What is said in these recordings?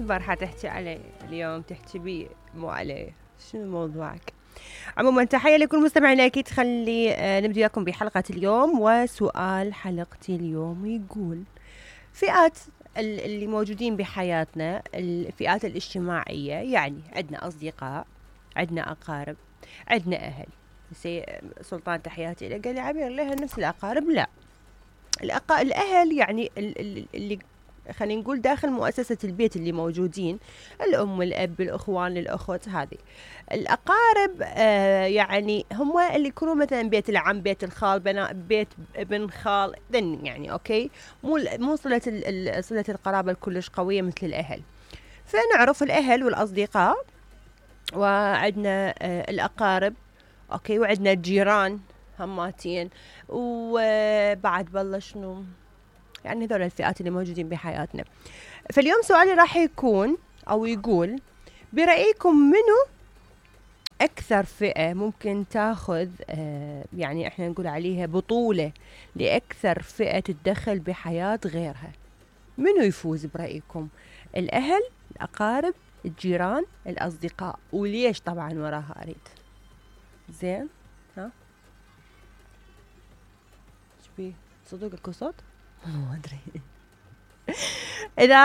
البارحة تحكي علي، اليوم تحكي بي مو علي. شنو موضوعك؟ عموما تحية لكل مستمعينا. أكيد خلي نبدأ وياكم بحلقة اليوم. وسؤال حلقتي اليوم يقول: فئات اللي موجودين بحياتنا، الفئات الاجتماعية، يعني عندنا أصدقاء، عندنا أقارب، عندنا أهل. سلطان تحياتي له قال لي: عبير لها نفس الأقارب؟ لا، الأهل يعني اللي خلينا نقول داخل مؤسسة البيت اللي موجودين، الأم والأب الأخوان الأخوت. هذه الأقارب يعني هم اللي يكونوا مثلا بيت العم، بيت الخال، بيت ابن خال، يعني أوكي، مو صلة القرابة الكلش قوية مثل الأهل. فنعرف الأهل والأصدقاء، وعندنا الأقارب، أوكي، وعندنا الجيران هماتين، وبعد بالله شنو يعني هذول الفئات اللي موجودين بحياتنا. فاليوم سؤالي راح يكون أو يقول: برأيكم منو أكثر فئة ممكن تاخذ يعني إحنا نقول عليها بطولة لأكثر فئة تتدخل بحياة غيرها؟ منو يفوز برأيكم؟ الأهل، الأقارب، الجيران، الأصدقاء؟ وليش طبعا وراها أريد. زين، ها شبيه صدق اكو صوت؟ ما أدري. إذا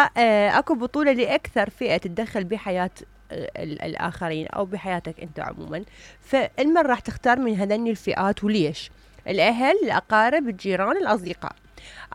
أكو بطولة لأكثر فئة تتدخل بحياة الآخرين أو بحياتك أنت عموما، فالمن راح تختار من هذين الفئات وليش؟ الأهل، الأقارب، الجيران، الأصدقاء.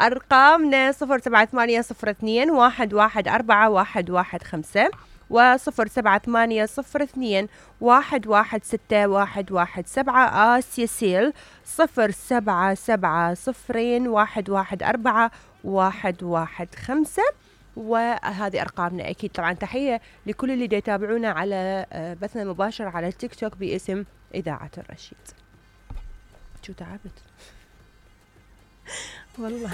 أرقامنا 078021141115 و078021161117. آسيا سيل 0770114115. وهذه أرقامنا. أكيد طبعا تحية لكل اللي يتابعونا على بثنا مباشر على التيك توك باسم إذاعة الرشيد. شو تعبت والله.